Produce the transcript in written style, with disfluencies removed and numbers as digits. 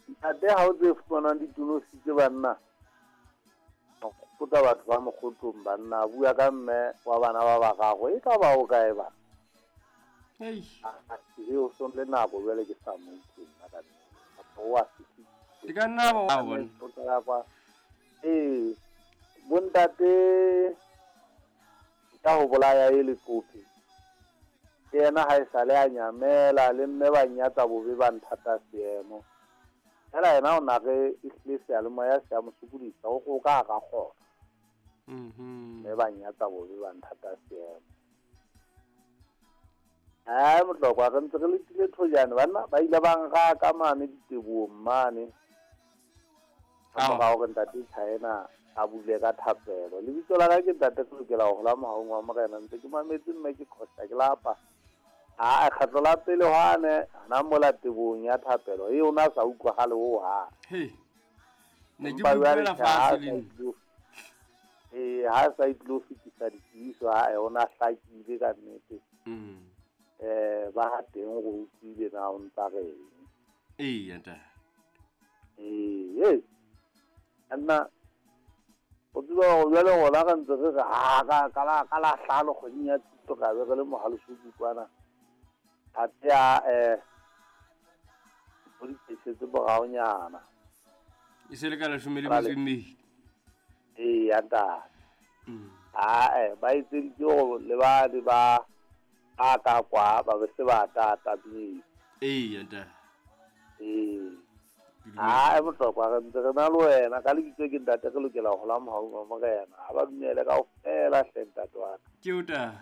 Ntate ha o tse fumanang ditonositse banna. Gopotsa batho ba mokgotong banna a bua ka mme wa bana ba bararo e ka ba o kae ba. Ei. E o son le nako jwale ke sa mo utlwe nna ka nnete. O a fihlile. E ka nna ba wa bona. O tla kwa. Ee, bontate ka ho bolaya e leqopi. Ke yena ha e sale a nyamela le mme ba nyatsa bobe ba nthata seemo. Fela yena o na re ehlile seyalemoya se a mo sokodisa o go ka ka kgona. Mme ba nyatsa bobe ba nthata seemo. Ai motlokwa re ntse re letile thojane banna ba ile ba nka ka mane ditebohong mane. Ka mora hore ntate China a bule ka thapelo. Lebitso la ka ke ntate ke lokela ho hola mohaung wa morena ntse ke mametse mme ke khosa ke lapa. A kgetlo la pele hwane hana mola tebohong ya thapelo e ona sa utlwagale ho hang. Hey. Ne ke Empa jwale utlwela tjhe, ha fatshe sa le nna. Ee, ha sa itlo fetisa ditsebiso ha ona hlakile ka nnete. Ba ha teng go utlwile na o ntsa reng. Ee, ntate. Ee, nna o tseba hore jwale rona re ntse re re ha ka la hlano kgweding ya Tshitwe ra be re le mohaleso kwana. Athe a o di tlisetse moraonyana. E se le ka leshome le metso e mmedi. Ee, ya ntate. Ae, ba etseditse hore le ba le ba a ka kwa ba be se ba tata pele. Ee, ntate. Ee. Ae, bohlokwa re ntse re na le wena ka lebitso ke ntate re lokela ho hola mohaung wa morena. Ha ba dumele kaofela hle ntate wa ka. Ke o ta.